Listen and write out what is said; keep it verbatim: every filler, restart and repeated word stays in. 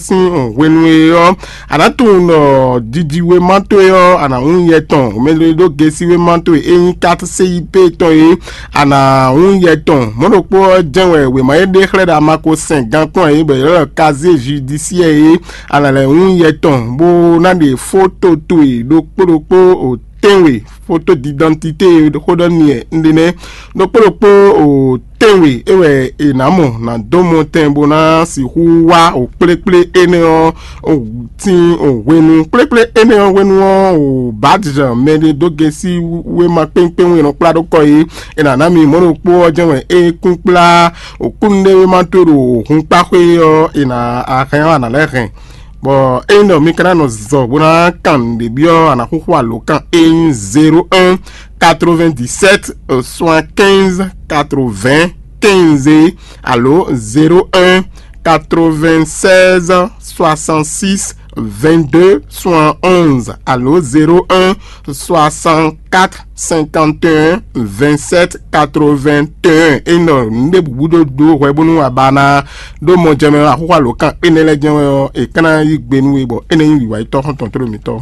sín hwenu e ɔ́, a nǎ tunwun ɖɔ jijiwéma towe ɔ́, a nǎ wún yɛ tɔn. Mɛ e ɖó gesi wéma towe e nyí kat C I P tɔn e, a nǎ wún yɛ tɔn. Mɔ̌ ɖokpó ɔ́ jɛ́n wɛ wěma e ɖe xlɛ́ ɖo Amako sɛn gankpɔ́n e bɔ è ylɔ́ ɖɔ kazé judiciaire e, a nǎ lɛ́ wún yɛ tɔn, bó ná ɖe fóto towe ɖokpó ɖokpó o tɛ́nwe, fóto d'idantité e xó ɖɔ n'i wɛ un ɖe nɛ́. Ɖokpó ɖokpó o tɛ́nwe é wɛ è nǎ mɔ ná dó mɔ tɛn bó ná sixú wá o kplékplé énɛ́ ɔ́, o tín o hwenu kplékplé énɛ́ ɔ́ hwenu ɔ́, o bǎdizan mɛ ɖé dó gesi wéma kpéŋkpéŋ e nɔ kplá ɖó kɔ é, è nǎ ná mi mɔ̌ ɖokpó ɔ́ jɛ́n wɛ é kún kplá o kúnnuɖéwéma towe ɖo hunkpáxwé ɔ́, è nǎ a hɛn ɔ́, a nǎ lɛ́ hɛn. Bɔ ényí ɖɔ mi ka ná nɔ zɔ bó ná kan nǔɖé byɔ́, a nǎ xúxú alǒkan e nyí zéro un quatre-vingt-dix-sept soixante-quinze quatre-vingts quinze alo zéro un quatre-vingt-seize soixante-six vingt-deux soixante-onze alo zéro un soixante-quatre cinquante et un vingt-sept quatre-vingt-un. Ényí ɖɔ nǔɖé bǔ ɖó ɖó hwɛ bónú a ba ná ɖó mɔ jɛ mɛ axúxú alǒkan énɛ́ lɛ́ɛ jɛ́n wɛ ɔ́, è ka ná yí gbe nú we bɔ énɛ́ nyí wǐwá yi tɔ́ xɔ́ntɔn tlóló mǐtɔn.